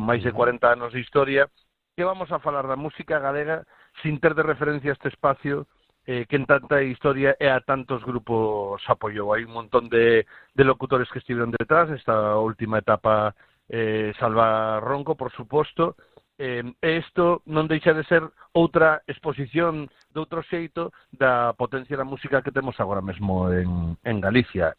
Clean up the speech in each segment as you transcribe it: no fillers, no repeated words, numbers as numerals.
máis de 40 anos de historia, que vamos a falar da música galega sin ter de referencia este espacio que en tanta historia e a tantos grupos apoiou. Hai un montón de locutores que estiveron detrás, esta última etapa Salva Ronco, por suposto, isto non deixa de ser outra exposición de outro xeito da potencia da música que temos agora mesmo en Galicia.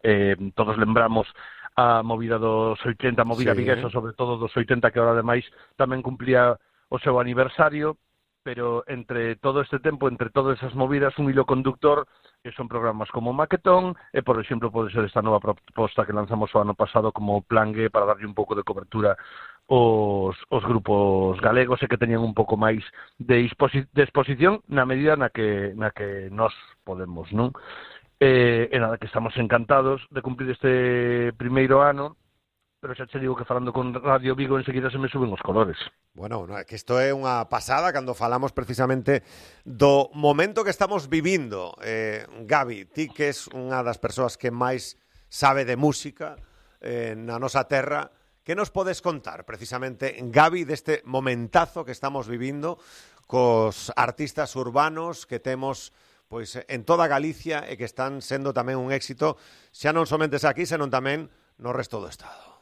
Todos lembramos a movida dos 80, a movida viguesa, sobre todo dos 80, que ahora ademais tamén cumplía o seu aniversario, pero entre todo este tempo, entre todas esas movidas, un hilo conductor son programas como Maquetón e, por exemplo, pode ser esta nova proposta que lanzamos o ano pasado como Plan G para darlle un pouco de cobertura os grupos galegos e que teñan un pouco máis de exposición na medida na que nós podemos, non? E nada, que estamos encantados de cumplir este primeiro ano, pero xa che digo que falando con Radio Vigo enseguida se me suben os colores. Bueno, que isto é unha pasada cando falamos precisamente do momento que estamos vivindo. Gabi, ti que és unha das persoas que máis sabe de música na nosa terra, que nos podes contar precisamente, Gabi, deste momentazo que estamos vivindo cos artistas urbanos que temos pois en toda Galicia e que están sendo tamén un éxito, xa non somente aquí, senón tamén no resto do Estado?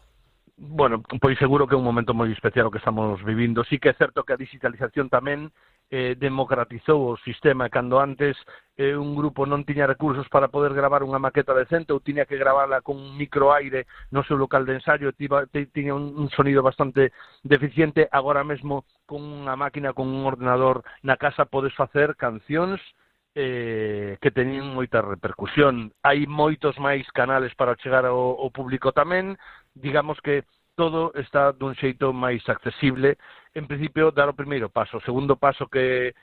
Bueno, pois seguro que é un momento moi especial o que estamos vivindo. Sí que é certo que a digitalización tamén democratizou o sistema, cando antes un grupo non tiña recursos para poder gravar unha maqueta decente ou tiña que gravala con un microaire no seu local de ensaio, tiña un sonido bastante deficiente. Agora mesmo con unha máquina, con un ordenador na casa podes facer cancións que teñen moita repercusión. Hai moitos máis canales para chegar ao público tamén. Digamos que todo está dun xeito máis accesible. En principio, dar o primeiro paso. O segundo paso que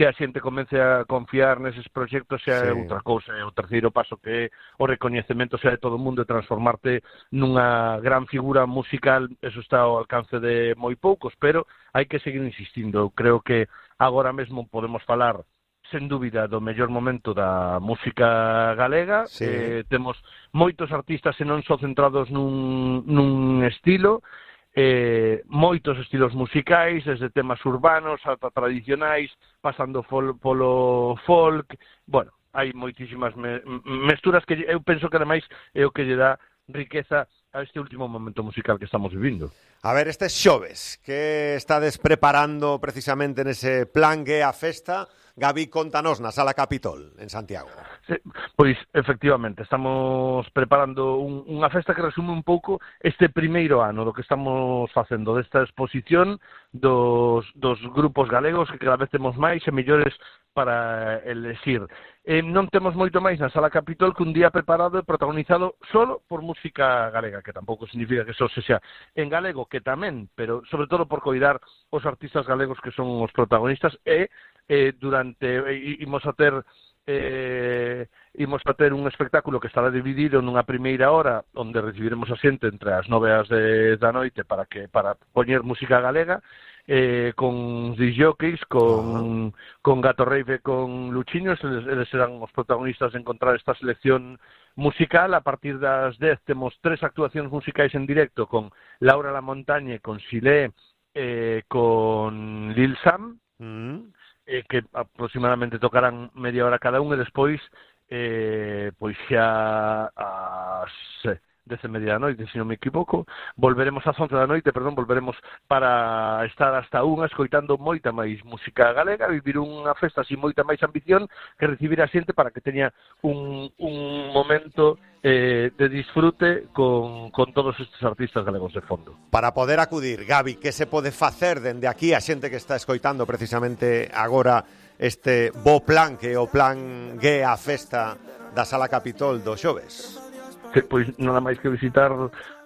a xente comece a confiar neses proxectos xa é outra cousa. O terceiro paso que é o recoñecemento xa de todo o mundo e transformarte nunha gran figura musical. Eso está ao alcance de moi poucos, pero hai que seguir insistindo. Eu creo que agora mesmo podemos falar sen dúbida do mellor momento da música galega. Temos moitos artistas e non só centrados nun estilo, moitos estilos musicais, desde temas urbanos ata tradicionais, pasando polo folk. Bueno, hai moitísimas mesturas que eu penso que ademais é o que lle dá riqueza a este último momento musical que estamos vivindo. A ver, estes xoves que estades preparando precisamente nese Plan G a festa, Gabi, contanos na Sala Capitol, en Santiago. Sí, pois, efectivamente, estamos preparando unha festa que resume un pouco este primeiro ano do que estamos facendo, desta exposición dos grupos galegos, que cada vez temos máis e mellores para elexir. Non temos moito máis na Sala Capitol que un día preparado e protagonizado solo por música galega, que tampouco significa que só sexa en galego, que tamén, pero sobre todo por coidar os artistas galegos que son os protagonistas e imos a ter un espectáculo que estará dividido nunha primeira hora onde recibiremos a xente entre as 9 e as 10 da noite para poñer música galega, con disjockeys, con Gato Rave e con Luchiños. Eles serán os protagonistas de encontrar esta selección musical. A partir das 10 temos 3 actuacións musicais en directo con Laura La Montañe, con Xilé, con Lil Sam, que aproximadamente tocarán media hora cada un, e despois pois xa as 10:30 da noite, se non me equivoco, volveremos ás 11 da noite, volveremos para estar hasta unha escoitando moita máis música galega, vivir unha festa sin moita máis ambición, que recibir a xente para que teña un momento de disfrute con todos estes artistas galegos de fondo. Para poder acudir, Gabi, que se pode facer dende aquí a xente que está escoitando precisamente agora este bo plan, que é o Plan G a festa da Sala Capitol do xoves? Pois nada máis que visitar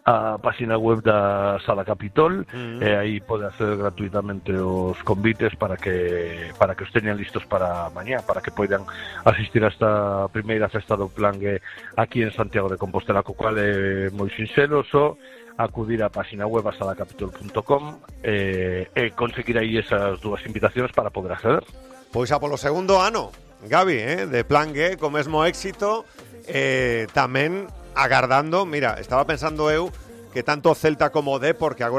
a página web da Sala Capitol, e aí pode hacer gratuitamente os convites para que os teñan listos para mañá, para que poidan asistir a esta primeira festa do Plan G aquí en Santiago de Compostela, co cual é moi sinxelo, só acudir á página web a salacapitol.com e conseguir aí esas dúas invitacións para poder acceder. Pois a polo segundo ano, Gabi, de Plan G, co mesmo éxito, tamén agardando, mira, estaba pensando eu que tanto Celta como D, porque agora